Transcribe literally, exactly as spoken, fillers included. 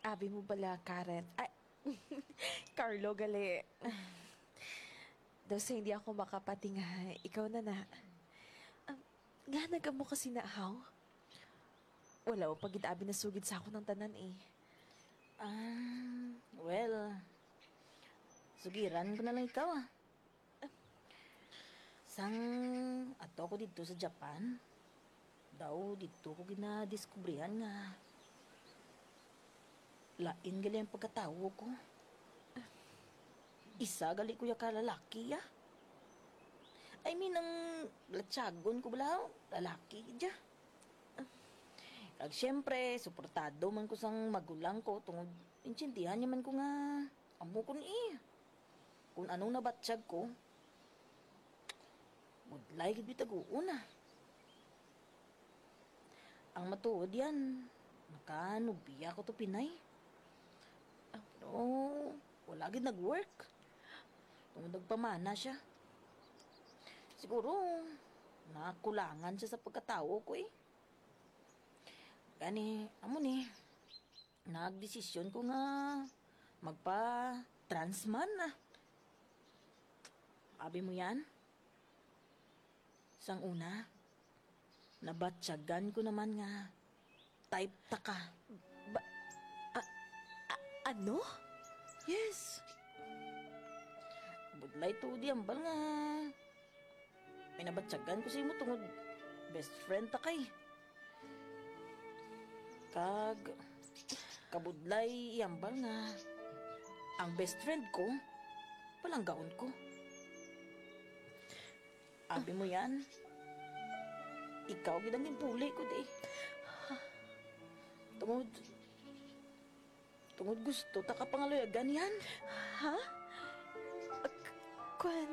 Abi mo bala, Karen? Ay, Carlo, gali. Daw sa hindi ako makapati nga, ikaw na na. Ah, nga nag-amo ka sina, haw? Wala pa gid abi nasugid sa akon ang tanan, eh. Ah, well, sugiran ko na lang ikaw, ah. Sang ato ko didto sa Japan, daw didto ko ginadiskubrihan nga lain gali ang pagkatawo ko. Isa gali ko ya ka lalaki, ya. I mean, ang latyagon ko bala, lalaki gid ya. Kag siyempre, suportado man ko sang magulang ko tungod intindihan niya man ko nga amo ko ni. Kung anong nabatyag ko, budlay gid bitaguon na. Ang matuod yan, nakanubiya ko to Pinay. Ah, pero wala gid nag-work. Tungod nagpamana siya. Siguro, nakulangan siya sa pagkatawo ko eh. Gani, amo ni, nagdesisyon ko nga magpa-transman na. Abi mo yan? Sang una, nabatyagan ko naman nga type ta ka. Ba, a, a, ano? Yes. Budlay to di ambal nga may nabatyagan ko sa imo tungod best friend ta kay. Kag kabudlay iambal nga ang best friend ko, palanggaon ko. Abi mo yan? Ikaw gid ang ginpuli ko di. Tungod, tungod gusto ta ka pangaluyagan yan. Ha? K-, kwan,